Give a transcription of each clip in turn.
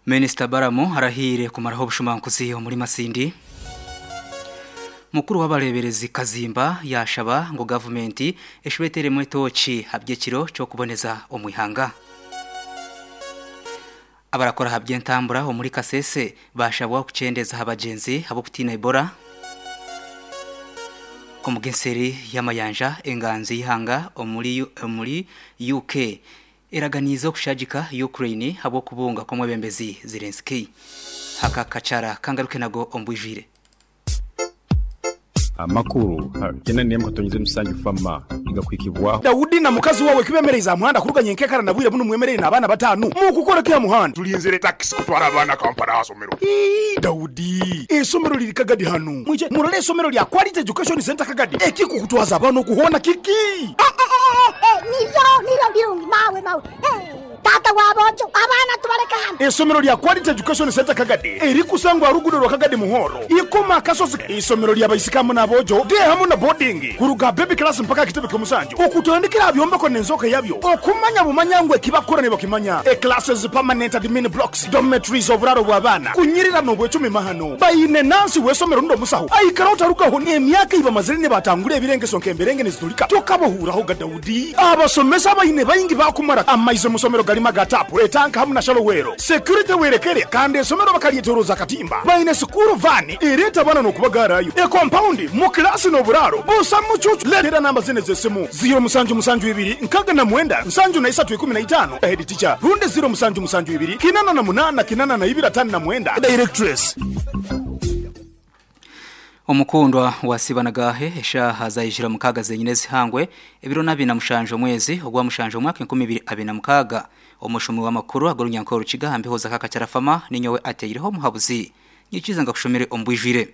Minisita Balamu arahiire kumaraho obushumankuzi omuri Masindi. Mukuru w'abareeberezi Kazimba yaashaba ngu gavumenti eshube eteeremu etooki ahaby'ekiro ky'okuboneza omu ihanga. Abarakora aha by'entambura omuri Kasese baashabwa kukyendeeza aha bagyenzi ahabw'okutiina Ebola. Omugenseeri y'amayanja enganzi y'eihanga omuri UK Eraganiize okushagika Ukraine ahabw'okubunga kw'omwebembezi Zelenskyy. Aka kachara kangaruke nago omu bwijwire. Amakuru gena n'emwe katonyeze musanju fama nigakuhikibwaho. Daudi na mukazi wawe kibemereize aha muhanda kuruga nyenkekara na bwire bunu mwemereire n'abaana batanu mukukora ki aha muhanda? Tulinzire takisi kutwara abaana Kampala aha somero. Ii, Daudi, eisomero riri Kagadi hanu. Mwije murore eisomero lya Quality Education Centre Kagadi. Ekikukutwaza abaana oku hoona kiki? Niryo, niryo birungi mawe, mawe. Taata wa boojo, abaana tubaleke hanu. Eisomero lya Quality Education Centre Kagadi erikusangwa aha ruguudo rwa Kagadi Muhoro, Ikoma Akasozi. Eisomero lya baisiki hamu n'aboojo, day hamu na boarding, kuruga aha baby class mpaka aha kitebe ky'omusanju. Okutandikira aha byombeko n'enzooka yabyo, okumanya bumanya ngu eki bakukora nibakimanya. E-classes, permanent admin blocks, dormitories, oburaaro bw'abaana, kunyirira n'obwecumi mahano. Baine nansi w'eisomero rundi omusaho aikaraho tarugaho. Emyaka ei bamazire nibatangura ebirengeso nk'emberenge niziturika, tokabahuuraho ga Daudi. Abasomesa abaine baingi baakumara amaizi omu somero garimu aga taapu, etanka hamu na shallow well. Security werekere kandi eisomero bakaryetoroza akatimba. Baine sikuuru vaani ereeta abaana n'okubagaarayo. Ekompaundi, mu kilaasi n'oburaaro busa mucuucu. Leetera namba zinu ez'esimu, ziiro musanju musanju ibiri 69 73 15, Head teacher, rundi ziiro musanju musanju ibiri 88 82 59, Directress. Omukundwa wa Sibanagahe eshaaha zaijira mukaaga zenyine ezihangwe ebiro n'abiri na mushanju omwezi ogwa mushanju omwaka 2026. Omushomi w'amakuru ag'orunyankore Rukiga aha mbeho za Kakakyarafama ninyowe ateireho omuhabuzi. Nyikiriza ngakushomere omu bwijwire.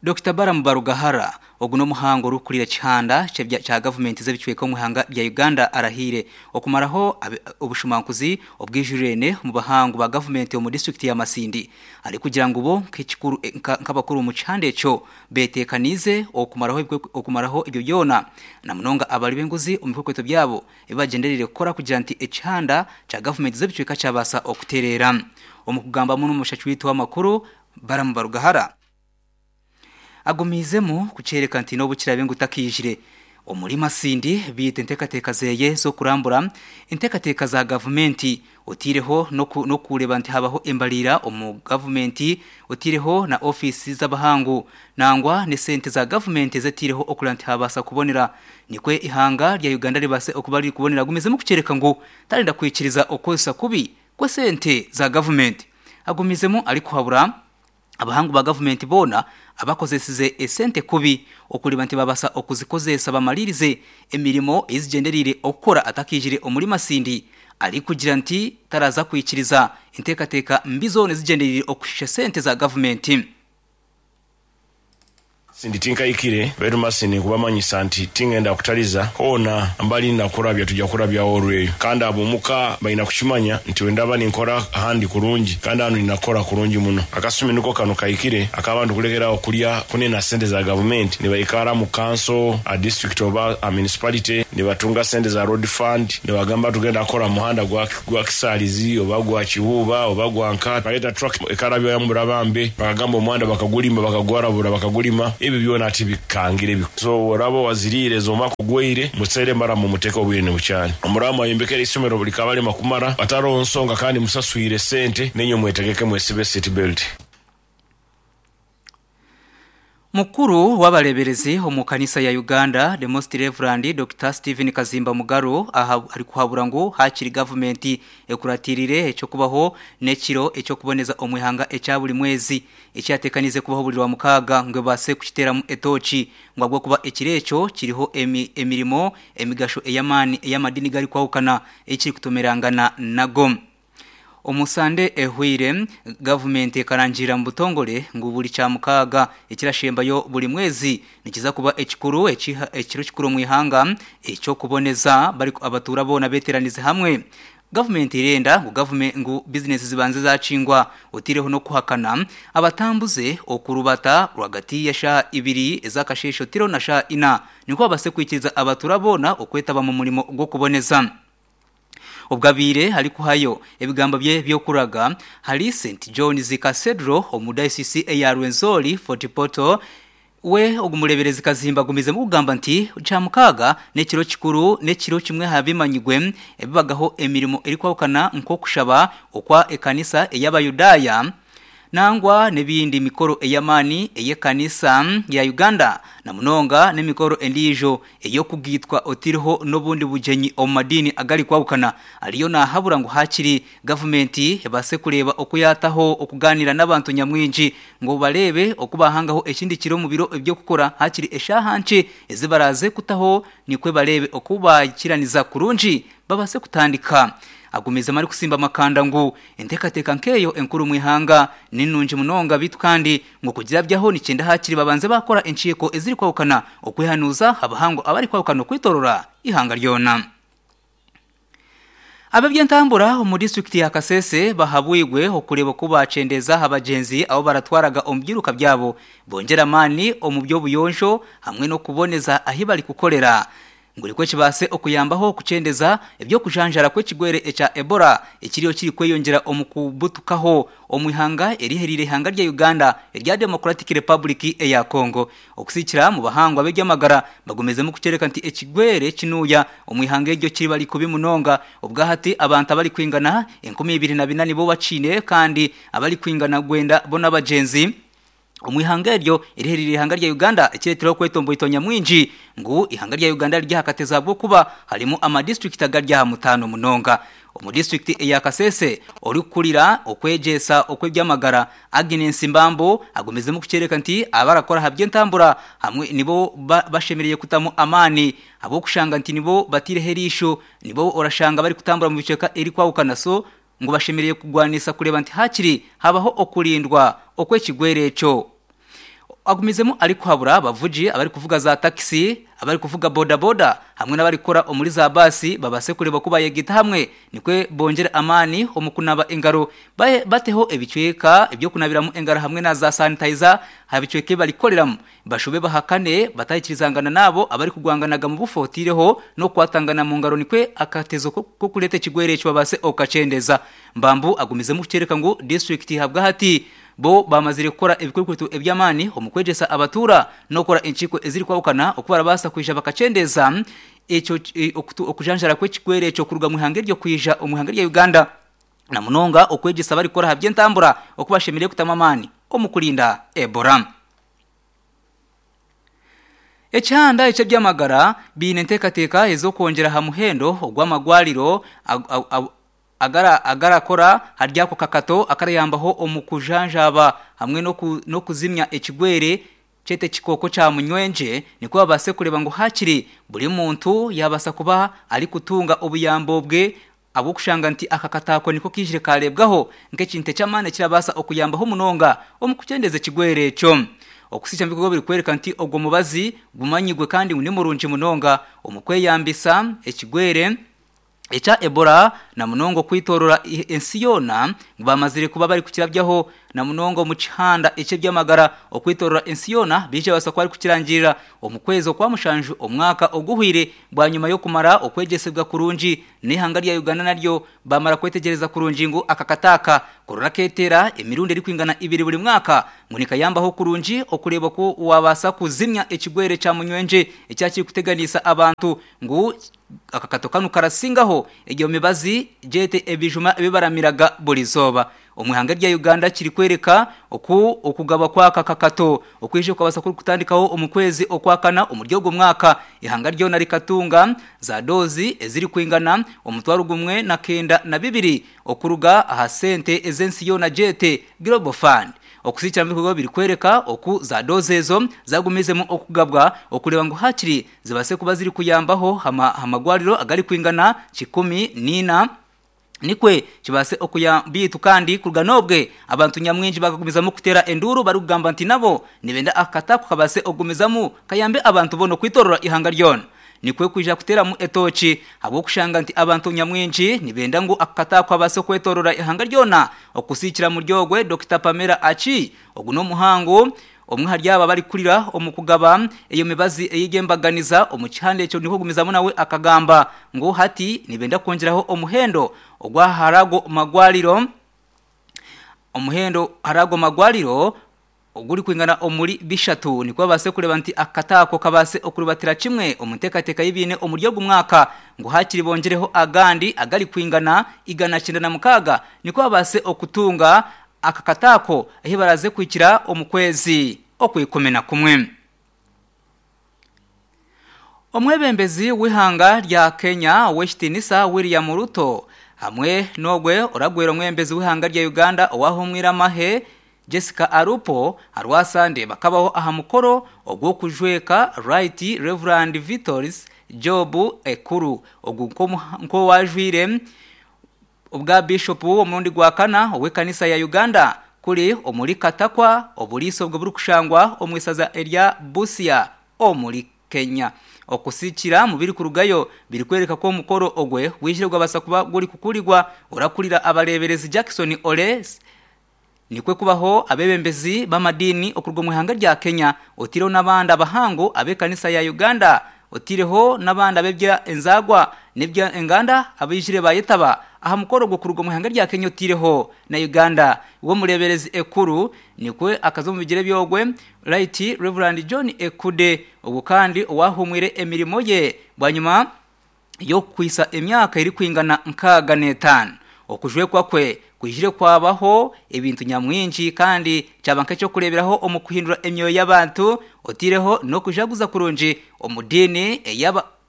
Dokita Balaam Barugahara, ogu n'omuhangu orikukurira ekihanda kya gavumenti z'ebicweka omu ihanga rya Uganda arahiire okumaraho obushumankuzi obwijwirene omu bahangu ba gavumenti omu disiturikiti ya Masindi arikugira ngu bo nk'abakuru omu kihanda ekyo beteekaniize okumaraho ebyo byona na munonga abari b'enguzi omu bikwekweto byabo ebi bagyendereire kukora kugira nti ekihanda kya gavumenti z'ebicweka kyabaasa okutereera. Omu kugambamu n'omushaki waitu w'amakuru, Balaam Barugahara, Agumiizemu kukyoreka nti n'obu kiraabe ngu takaijire omuri Masindi beitu enteekateeka ze z'okurambura enteekateeka za gavumenti oteireho n'okureeba nti habaho embariira omu gavumenti oteireho na ofiisi z'abahangu nangwa n'esente za gavumenti ezi eteireho okureeba nti habaasa kubonera nikwo eihanga rya Uganda ribaase okuba ririkubonera. Agumiizemu kukyoreka ngu tarenda kwikiriza okukozesa kubi kw'esente za gavumenti. Agumiizemu arikuhabura Abahangu ba gavumenti boona abakozesize esente kubi okureeba nti babaasa okuzikozesa bamariirize emirimo ei zigyendereire okukora atakaijire omuri Masindi arikugira nti taraza kwikiriza enteekateeka mbi zoona ezigyendereire okushisha sente za gavumenti. Sindi tinkaikire, baitu masi ninkubamanyisa nti tingenda kutaliza hoona mbali nakurabya tuja kurabyaho orweyo. Kandi ab'omuka baina kukimanya nti bwendaba ninkora ahandi kurungi, kandi hanu nina kukora kurungi muno. Akasumi niko kanu kahikire ak'abantu kulekeraho kulya kunena sente za gavumenti nibaikara mu kanso, a disiturikiti oba a municipality nibatunga sente za road fund nibagamba tugenda kukora muhanda gwa Gwa Kisaalizi oba gwa Kibuuba oba gwa nka. Baleeta truck ekarabya Murabambe bakagamba omuhanda bakagulima bakagwarabura bakagulima ebyo byona tibikangire. So bworaba owaziriire ezo mpaka ogweire museere maramu muteke obwire nibukyali. Omuraba mwayombekere eisomero likabalema kumara hataroho nsonga kandi musaswire sente nainywe mwetegeke mwesibe seat belt. Mukuru w'abareeberezi omu kanisa ya Uganda, The Most Rev. Dokita Stephen Kazimba Mugaru arikuhabura ngu haakiri gavumenti ekuratiirire eky'okubaho n'ekiro eky'okuboneza omu ihanga ekya buri mwezi eki yateekaniize kubaho buri Rwamukaaga ngu ebaase kukiteeramu etooki ngu ahabw'okuba ekiro ekyo kiriho emirimo emigasho ey'amaani ey'amadiini garikwahukana ei kirikutomerangana nago. Omu Sande ehweire, gavumenti ekarangirira omu butongore ngu buri Kyamukaaga ekirashembayo buri mwezi nikiza kuba ekikuru ekiro kikuru omu ihanga eky'okuboneza abatuura boona beteranize hamwe. Gavumenti erenda ngu ngu bizinesi zibanze zakingwa oteireho n'okuhakana abatambuze okurubata rwagati ya shaaha ibiri ez'akasheeshe oteireho na shaaha ina nikwo babaase kwikiriza abatuura boona okwetaba omu murimo gw'okuboneza. Obwo abaire arikuhayo ebigambo bye by'okuraga ahari St John's Cathedral omu dayosisi eya Rwenzori Fort Portal, we ogu mureeberezi Kazimba agumizemu kugamba nti Kyamukaaga n'ekiro kikuru n'ekiro kimwe aha bimanyigwe ebibagaho emirimo erikwahukana nk'okushaba okwa ekanisa ey'Abayudaaya nangwa n'ebindi mikoro ey'amaani ey'ekanisa ya Uganda na munonga n'emikoro endiijo ey'okugaitwa otaireho n'obundi bugyenyi omu madiini agarikwahukana. Ariyo naahabura ngu haakiri gavumenti ebaase kureeba oku yaataho okugaaniira n'abantu nyamwingi ngu bareebe oku baahangaho ekindi kiro omu biro eby'okukora haakiri eshaaha nkye ezi baraaze kutaho nikwo bareebe oku baakiraniza kurungi babaase kutandika. Agumizemu arikusimba amakanda ngu enteekateeka nk'eyo enkuru omu ihanga ni nungi munonga beitu kandi ngu kugirabyaho nikyenda haakiri babanze baakora enkiiko ezirikwahukana okwehanuuza abahangu abarikwahukana okwetorora eihanga ryona. Ab'eby'entambura omu disiturikiti ya Kasese bahabwirwe okureeba oku baakyendeeza aha bagyenzi abu baratwaraga omu byiruka byabo bongyere amaani omu by'obuyonjo hamwe n'okuboneza ahi barikukorera. Ngu nikwo kibaase okuyambaho kukyendeza eby'okujanjara kw'ekigwere ekya Ebola ekiriyo kirikweyongyera omu kubutukaho omu ihanga erihereire eihanga rya Uganda erya Democratic Republic eya Congo. Okusikira mu bahangwa b'eby'amagara bagumizemu kukyoreka nti ekigwere kinuuya omu ihanga eryo kiri kubi munonga obwahati abantu abarikwingana 2004 nibo bakiine kandi abarikwingana gwenda bo n'abagyenzi omu ihanga eryo erihereire eihanga rya Uganda ekireetireho okwetomboitwa nyamwingi ngu eihanga rya Uganda riri aha katezi ahabw'okuba harimu amadisiturikiti agari aha mutaano munonga. Omu disiturikiti eya Kasese, orikukurira okwegyesa okw'eby'amagara, Agnes Mbambo agumizemu kukyoreka nti abarakora aha by'entambura hamwe nibo bashemereire kutamu amaani ahabw'okushanga nti nibo bataireho eriisho nibo orashanga barikutambura omu bicweka erikwahukana so ngu bashemereire kugwanisa kureeba nti haakiri habaho okurindwa okw'ekigwere ekyo. Agumizemu arikuhabura abavugi abarikuvuga za takisi, abarikuvuga bodaboda hamwe n'abarikukora omuri za baasi babaase kureeba oku bayegaita hamwe nikwo bongyere amaani omu kunaba engaro bateho ebicweka eby'okunabiramu engaro hamwe na za sanitayiza aha bicweka ebi barikukoreramu bashube bahakane batahikirizangana n'abo abarikugwanganaga mu bufu otaireho n'okukwatangana mu ngaro nikwo akatezo k'okureeta ekigwere eki babaase okukakyendeza. Mbambu agumizemu kukyoreka ngu disiturikiti ahabwahati bo bamazire kukora ebikwekweto eby'amaani omu kwegyesa abatuura n'okukora enkiiko ezirikwahukana oku barabaasa kwija bakakyendeza ekyo okujanjara kw'ekigwere ekyo kuruga omu ihanga eryo kwija omu ihanga rya Uganda na munonga okwegyesa abarikukora aha by'entambura oku bashemereire kutamu amaani omu kurinda Ebola. Ekihanda eky'eby'amagara baine enteekateeka ez'okwongyera aha muhendo ogw'amagwariro agarakora ahari ako kakato akarayambaho omu kujanjaaba hamwe n'okuzimya ekigwere kyete ekikooko kya munywengye nikwo babaase kureeba ngu haakiri buri muntu yaabaasa kuba arikutunga obuyambi obwe ahabw'okushanga nti aka kataako niko kaijire kaareebwaho nk'ekintu eky'amaani ekirabaasa okuyambaho munonga omu kukyendeza ekigwere ekyo. Okusiikya omu bikorwa birikworeka nti ogwo mubazi gumanyigwe kandi ngu ni murungi munonga omu kweyambisa ekigwere ekya Ebola na munonga okwitorora ensi yoona ngu bamazire kuba barikukirabyaho na munonga omu kihanda eky'eby'amagara okwitorora ensi yoona baija babaasa kuba barikukirangirira omu kwezi okwa mushanju omwaka oguhweire bwanyima y'okumara okwegyesibwa kurungi N'eihanga rya Uganda naryo baamara kwetegyereza kurungi ngu aka kata aka korona keteera emirundi erikwingana ibiri buri mwaka ngu nikayambaho kurungi okureeba oku waabaasa kuzimya ekigwere kya munywengye ekya kirikuteganiisa abantu ngu aka kato kanu karasingaho egyo mibazi gyete ebijuma ebi baramiraga buri izooba. Omu ihanga rya Uganda kirikworeka oku okugabwa kw'aka kakato okwija kukabaasa kurikutandikaho omu kwezi Okwakana omuri ogwo mwaka. Ihanga ryona rikatunga za doozi ezirikwingana 1,092 okuruga aha sente ez'ensi yoona gyete Global Fund. Okusiikira omu bikorwa birikworeka oku za doozi ezo zagumizemu okugabwa okureeba ngu hakiri zibaase kuba zirikuyambaho aha magwariro agarikwingana 104. Nikwe kibaase okuya beitu kandi kuruga n'obwe abantu nyamwingi bakagumizamu kuteera enduuru barikugamba nti nabo nibenda aka kataku kabaase okugumizamu kayambe abantu boona okwitorora eihanga ryona. Nikwe kwija kuteeramu etooki ahabw'okushanga nti abantu nyamwingi nibenda ngu aka kataku kabaase okwetorora eihanga ryona okusiikira muri ogwe Dokita Pamela Achi ogu n'omuhangu. Omwe ahari aba abarikurira omu kugaba eyo mibazi ey'embaganiza omu kihanda ekyo nikwo kugumizamu nawe akagamba ngu hati nibenda kwongyeraho omuhendo ogwa ahari ago magwariro omuhendo ahari ago magwariro ogurikwingana omuri bishatu nikwo babaase kureeba nti akataako kabaase okurubatira kimwe omu nteekateeka ei baine omuri ogu mwaka ngu haakiri bongyereho agandi agarikwingana 196 nikwo babaase okutunga aka kataako ahi baraaze kuhikira omu kwezi Okwikuminakumwe. Omwebembezi w'eihanga rya Kenya ow'ekitiinisa William Ruto hamwe n'ogwe oragwera omwebembezi w'eihanga rya Uganda owahumwire amahe Jessica Alupo aharwasande bakabaho aha mukoro ogw'okujweka Right Rev Vitols Job Ekuru ogu nk'owajwire obwa Bishopu omurundi gwa kana ow'ekanisa ya Uganda kuri omuri Katakwa oburiisa obwo burikushangwa omu isaza erya Busia omuri Kenya. Okusikira mu birikurugayo birikworeka ku omukoro ogwe gwijire gwabasa kuba gurikukurirwa orakurira abareeberezi Jackson Ole nikwe kubaho abeebembezi b'amadiini okuruga omu ihanga rya Kenya otaireho n'abandi abahangu ab'ekanisa ya Uganda otaireho n'abandi ab'ebya enzaarwa n'ebya enganda abaijire baayetaba aha mukoro ogwo kuruga omu ihanga rya Kenya otaireho na Uganda. Iwe omureeberezi Ekuru nikwe akaza omu bigyere by'ogwe Right Rev John Ekude ogwo kandi owaahumwire emirimo ye bwanyima y'okukwitsa emyaka erikwingana 65. Okujwekwa kwe kwijire kwabaho ebintu nyamwingi kandi kyaba nk'eky'okureeberaho omu kuhindura emyoyo y'abantu otaireho n'okujaguza kurungi omu diini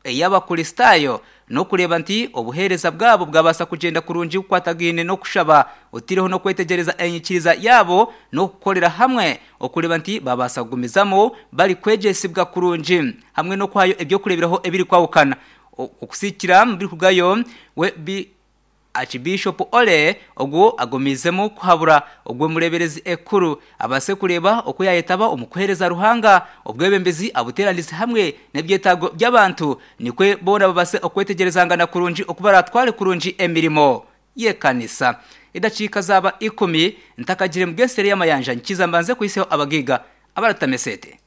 ey'Abakristaayo n'okureeba nti obuheereza bwabo bwabaasa kugyenda kurungi bukwatagaine n'okushaba otaireho n'okwetegyereza enyikiriza yaabo n'okukorera hamwe okureeba nti babaasa kugumizamu barikwegyesibwa kurungi hamwe n'okuhayo eby'okureeberaho ebirikwahukana okusikira omu birikurugayo we bi Aakibiishopu Ole ogu agumiizemu kuhabura ogwo mureeberezi ekuru abaase kureeba oku yaayetaba omu kuheereza Ruhanga, obwebembezi abuteeranize hamwe n'ebyetaago by'abantu nikwo boona babaase okwetegyerezangana kurungi oku baraatware kurungi emirimo y'ekanisa. Edakiika zaaba ikumi ntakagire mugesere y'amayanja nkiza mbanze kuhitsyaho abagaiga abaratama esente.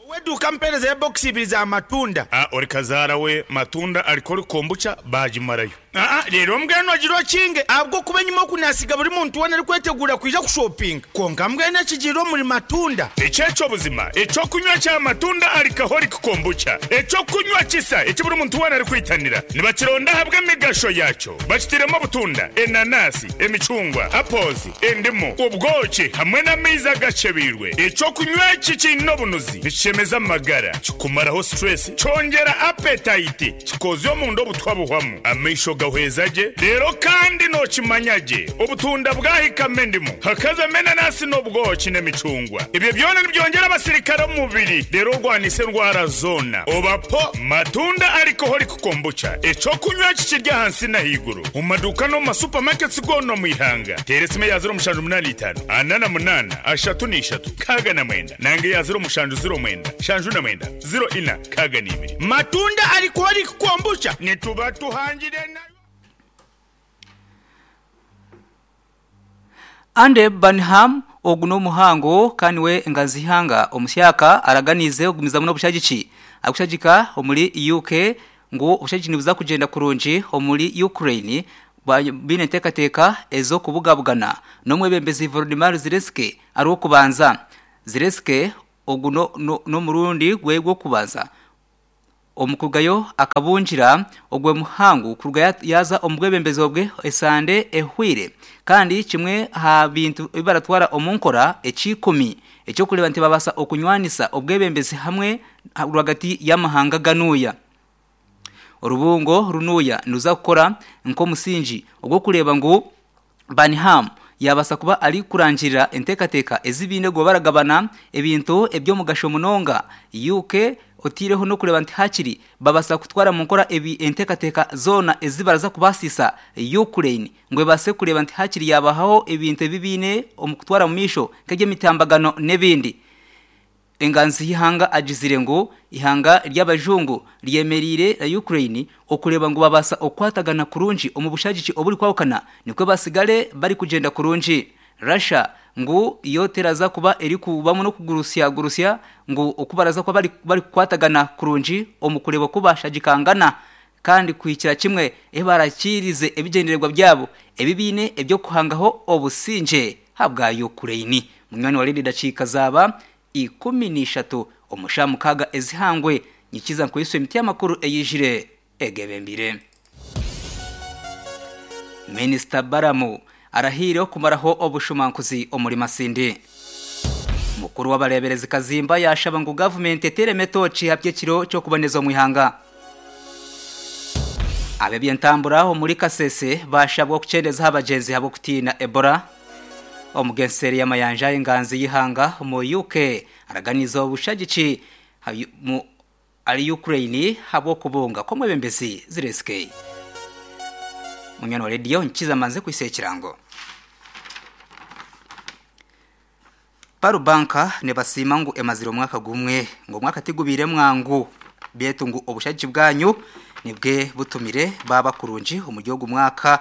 Ow'eduuka ampeerezeyo bokisi ibiri za matunda. A Ori kazaara we matunda ariko ori kombucha baagimarayo. Aa Reero mbwenu ogire okinge ahabw'okuba enyima oku naasiga buri muntu weena arikweteguura kwija kushopinga. Kwonka mbwenu ekigiire omuri matunda. Eki eky'obuzima, eky'okunywa kya matunda alcoholic kombucha, eky'okunywa kisa eki buri muntu weena arikwitanira. Nibakironda ahabw'emigasho yaakyo. Bakitairemu obutunda, enanasi, emicungwa, apples, endimu, obwoki hamwe n'amaizi agakyebeirwe. Eky'okunywa eki kiine obunuzi, nikishemeza amagara, kikumaraho stress, kyongyera appetite, kikoozya omunda obutwa buhwamu, amaisho gahweza gye, reero kandi nookimanya gye obutunda bwahikamu endimu, hakazamu enanasi n'obwoki n'emicungwa. Ebyo byona nibyongyera abasirikare omu mubiri reero orwanise endwara zoona. Oba po matunda alcoholic kombucha, eky'okunywa eki kiri ahansi n'ahaiguru omu maduuka n'omu ma supermarkets goona omu ihanga. Teera esimu eya 0785 48 33 69 nanga eya 0709 79 04 62. Matunda alcoholic kombucha. Nituba tuhangire nayo. Andy Burnham ogu n'omuhango kandi niwe enganzi y'eihanga omusyaka araganiize okugumizamu n'obushagiki arikushagika omuri UK ngu obushagiki nibuza kugyenda kurungi omuri Ukraine baine enteekateeka ez'okubugabugana n'omwebembezi Volodymyr Zelensky ariw'okubanza. Zelensky ogu n'omurundi gwe gw'okubanza Omu kurugayo akabungira ogwe muhangu kuruga yaaza omu bwebembezi obwe esande ehweire kandi kimwe aha bintu ebi baratwara omu nkora eky'ikumi eky'okureeba nti babaasa okunywanisa obwebembezi hamwe rwagati y'amahanga ganuuya. Orubungo runuuya niruza kukora nk'omusingi ogw'okureeba ngu Burnham yaabaasa kuba arikurangirira enteekateeka ezi baine kuba baragabana ebintu eby'omugasho munonga UK otaireho n'okureeba nti haakiri babaasa kutwara omu nkora ebi enteekateeka zoona ezi baraza kubaasisa Ukraine ngu ebaase kureeba nti haakiri yaabahaho ebintu ebi baine omu kutwara omu maisho nk'eby'emitambagano n'ebindi. Enganzi y'eihanga agizire ngu eihanga ry'abajungu ryemereire na Ukraine okureeba ngu babaasa okukwatagana kurungi omu bushagiki oburikwahukana nikwo basigare barikugyenda kurungi. Russia Ngu yo teraza kuba erikubamu n'okugurusya gurusya ngu okubaraza kuba bari kukwatagana kurungi omu kureeba oku bashagikangana kandi kuhikira kimwe ebarakirize ebigyendererwa byabo ebi baine eby'okuhangaho obusingye habwa Ukraine. Munywani wa Radio dakiika zaaba 13 omu shaaha mukaaga ezihangwe nyikiza nkuhiswe emiti y'amakuru eyijire egebembire. Minisita Balamu arahiire okumaraho obushumankuzi omuri Masindi. Mukuru w'abareeberezi Kazimba yaashaba ngu gavumenti eteeremu etooki aha by'ekiro ky'okuboneza omu ihanga. Ab'eby'entambura omuri Kasese baashabwa okukyendeza aha bagyenzi ahabw'okutiina Ebola. Omugenseeri y'amayanja enganzi y'eihanga omu UK araganiize obushagiki Ari Ukraine habw'okubunga kw'omwebembezi Zelenskyy. Munywani wa rediyo nkiza mbanze kwisa ekirango. Paru Bank nibasiima ngu emazire omwaka gumwe ngu omwaka tigubaire mwangu beitu ngu obushagiki bwanyu nibwe butumire baaba kurungi omuri ogu mwaka.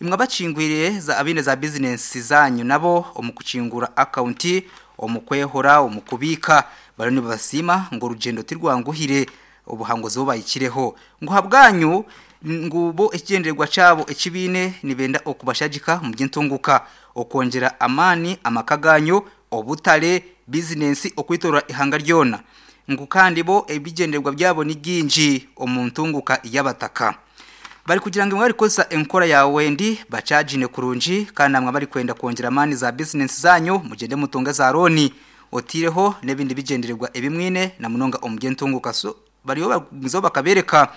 Imwe abakingwire abaine za bizinensi zanyu nabo omu kukingura akawunti, omu kwehora, omu kubiika Bariyo nibabasiima ngu orugyendo tirwanguhire obuhanguzi obu bahikireho. Ngu ahabwanyu ngu bo ekigyendererwa kyabo eki baine nibenda okubashagika omu by'entunguka, okwongyera amaani amaka gaanyu, obutare, bizinensi okwetoorora eihanga ryona. Ngu kandi bo ebigyendererwa byabo ni bingi omu ntunguka y'abataka. Barikugira ngu imwe abarikukozesa enkora ya Wendi bakyagine kurungi kandi namwe abarikwenda kwongyera amaani za bizinensi zaanyu mugyende mutunge za looni. Otaireho n'ebindi bigyendererwa ebi mwine na munonga omu by'entunguuka. So bariyo bagumizaho bakabeereka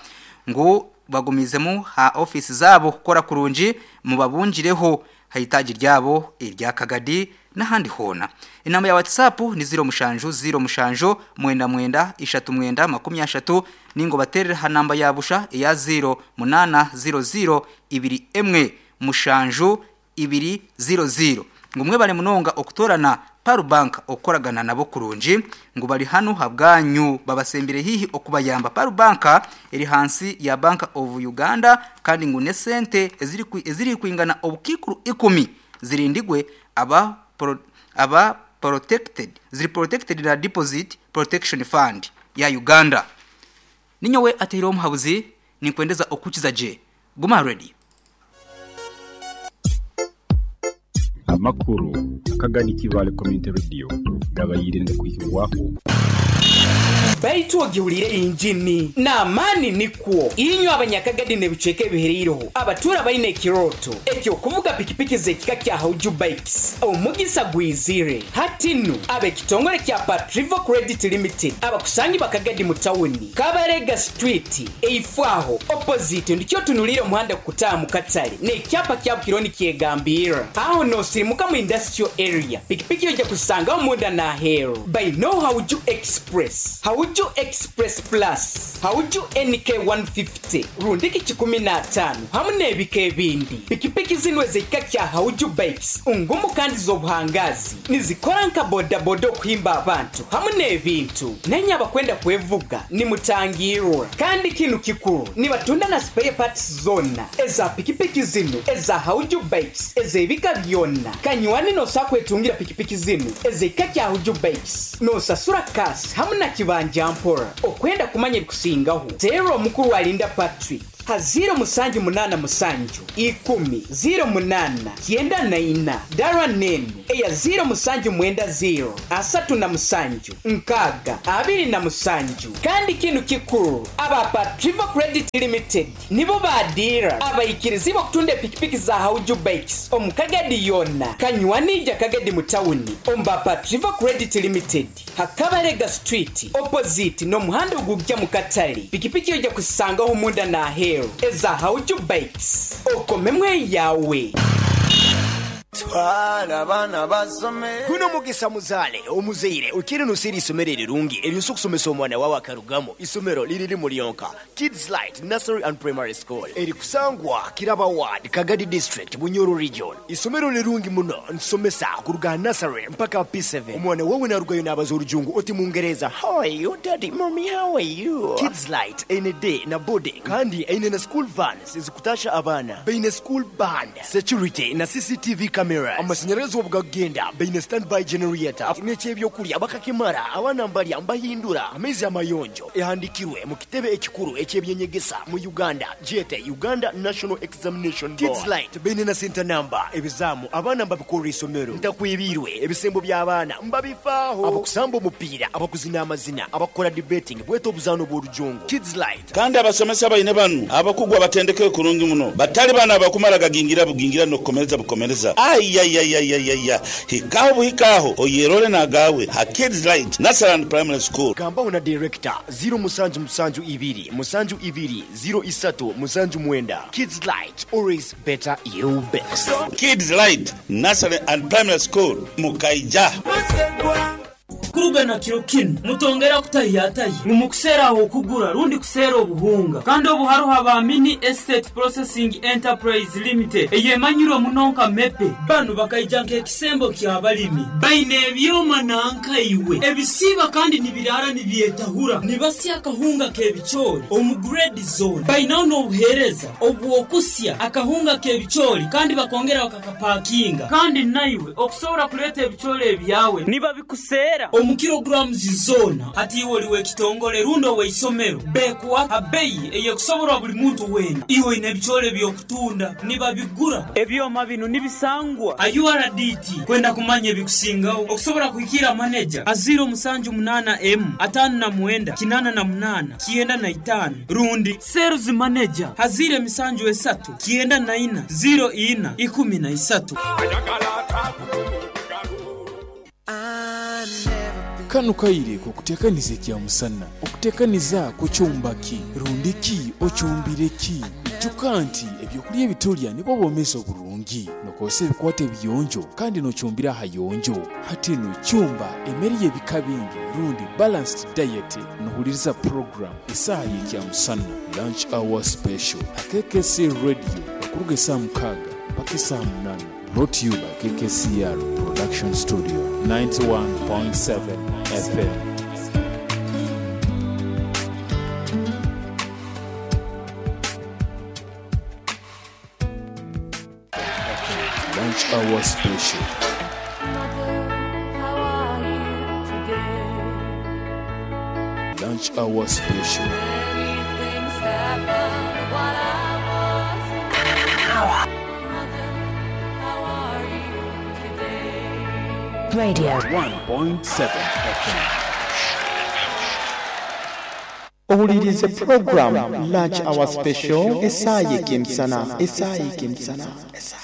ngu bagumiizemu ha ofiisi zaabo kukora kurungi mubabungireho ha itaagi ryabo erya Kagadi n'ahandi hoona. Enamba ya WhatsApp ni 07 07 99 39 30 ninga obateerere ha namba ya busha eya 08 00 21 7 ibiri ziro ziro ngu mwebare munonga okutorana Pearl Bank okukoragana nabo kurungi ngu bari hanu habwanyu babasembire hihi okubayamba Pearl Bank eri hansi ya Bank of Uganda kandi ngu nesente ezirikwingana obukiikuru ikumi zirindigwe aba aba protected ziri protected na Deposit Protection Fund ya Uganda. Ninyowe ateireho omuhabuzi ninkwendeza okukiza gye Guma aha radio. Amakuru akagani Kibaale Community Radio gabaire nigakwihibwaho. Baitu ogihuriire engini n'amaani nikwo. Inywe Abanyakagadi n'ebicweka ebihereireho abatuura baine ekirooto eky'okuvuga pikipiki z'ekika kya Hauju Bikes, omugisa gwizire. Hati nu, ab'ekitongore kya Patrivo Credit Limited abakusangibwa Kagadi mu tawuni, Kabarega Street, Eifo aho, opposite, ndikyo otunuliire omuhanda gukutaaha mu katale n'ekyapa kya Bukiro nikyegambirra. Aho noosirimuka mu industrial area, pikipiki oija kuzisangaho munda n'aheeru. Baine Hauju Express, Hauju Express Plus, Hauju NK 150, rundiki kikumi n'ataano hamu n'ebika ebindi. Pikipiki zinu ez'ekika kya Hauju Bikes ngumu kandi z'obuhangaazi. Nizikora nka bodaboda okuhimba abantu hamu n'ebintu. Nainye abakwenda kwevuga nimutangiirwa. Kandi kinu kikuru, nibatunda na spare parts zoona eza pikipiki zinu eza Hauju Bikes ez'ebika byona. Kanywani nosobola kwetungira pikipiki zinu ez'ekika kya Hauju Bikes nosasura cash hamu na kibanja mpora. Okwenda kumanya ebikusingaho, teera omukuru Alinda Patrick. Ha ziiro musanju munaana musanju, ikumi, ziiro munaana, kyenda na ina, dara n'enu eya ziiro musanju mwenda ziiro, 37, nkaaga, 27. Kandi kinu kikuru, aba Patrivo Credit Limited nibo ba diira abaikirizibwe okutunda epikipiki za Hauju Bikes omu Kagadi yoona. Kanywani ija Kagadi mu tawuni omu ba Patrivo Credit Limited. Ha Kabalega Street opposite n'omuhanda ogugya mu katale, pikipiki oija kuzisangaho munda n'aheeru eza Hauju Bikes. Okomemu eyawe. Twala abaana basome. Guno mugisa muzaale omuzaire okiire noseera eisomero erirungi eryosobola okusomesa omwana wawe akarugamu. Isomero liri limu lyonka, Kids Light Nursery and Primary School erikusangwa Kiraba Ward, Kagadi District, Bunyoro Region. Isomero lirungi muno, nitusomesa kuruga aha nursery mpaka aha P7. Omwana wawe narugayo nabaza orujungu oti mungereza, How are you daddy, mummy how are you? Kids Light eine day na boarding kandi eine na school vans ezikutasha abaana. Baine school band, security na CCTV cameras. cameras. Amasanyarazi obu gakugenda baine standby generator. N'eky'ebyokurya bakakimara, abaana mbarya mbahindura amaizi amayonjo. Ehandikirwe mu kitebe ekikuru eky'ebyenyegesa mu Uganda gyete Uganda National Examination Board. Kids Light baine na center number. Ebizaamu abaana mbabikorera isomero. Ntakwebiirwe, ebisembo by'abaana mbabifaaho. Abakusamba omupiira, abakuzina amazina, abakukora debating bwete obuzaano bw'orujongo. Kids Light. Kandi abasomesa baine banu abakugu abatendekeirwe kurungi muno, batali banu abakumara gagingira bugingira n'okukomereza bukomereza. Aiaiaiaiaia! Hikaho buhika aho oyerole n'agaawe ha Kids Light Nursery and Primary School. Gambaho na Director, ziro musanju musanju ibiri musanju ibiri ziro isatu musanju mwenda. Kids Light, always better you best. Kids Light Nursery and Primary School, Mukaija. Kuruga na kiro kinu, mutongera kutahiyatahya ngu mukuseera ah'okugura rundi kuseera obuhunga. Kandi obu haroho aba Mini Estate Processing Enterprise Limited eyemanyirwe muno nka MEPE. Banu bakaija nk'ekisembo ky'abalimi. Baine ebyoma nanka iwe ebisiiba kandi nibiraara nibyetahura, nibasya akahunga k'ebicoori omu grade zoona. Bainaho n'obuheereza obw'okusya akahunga k'ebicoori kandi bakongera bakakapakinga. Kandi naiwe okusobora kuleeta ebicoori ebyawe nibabikuseera omu kilograms zoona. Hati iwe oli w'ekitongole rundi ow'eisomero, bekuha ha beyi ey'ekusoborwa buli muntu weena. Iwe oine ebicoori eby'okutunda, nibabigura. Ebyoma binu nibisangwa ha URDT. Kwenda kumanya ebikusingaho, okusobora kuhikiira maneja ha ziiro musanju munaana emu, ataano na mwenda, kinaana na munaana, 95 rundi Sales Manager ha ziiro emisanju esatu, 94, ziiro ina, 13. Kanu kaire k'okuteekaniza ekyamusana. Okuteekaniza kucumba ki? Rundi ki ocumbire ki? Ijuka nti ebyokulya ebitulya nibwo bwomeezi oburungi. Nokozesa ebikwato ebiyonjo kandi nocumbira ahayonjo. Hati nu cumba emere y'ebika bingi rundi balanced diet nohuliriza program Esaaha y'Ekyamusana, Lunch Hour Special, ha KKC Radio okuruga esaaha mukaaga mpaka esaaha munaana. Brought to you by KKCR Production Studio, 91.7 FM. Lunch Hour Special. Lunch Hour Special. Radio. 1.7 FM. Owuliriize pulogulaamu Lunch Hour Special esaaha y'ekemisana, esaaha y'ekemisana, esaaha.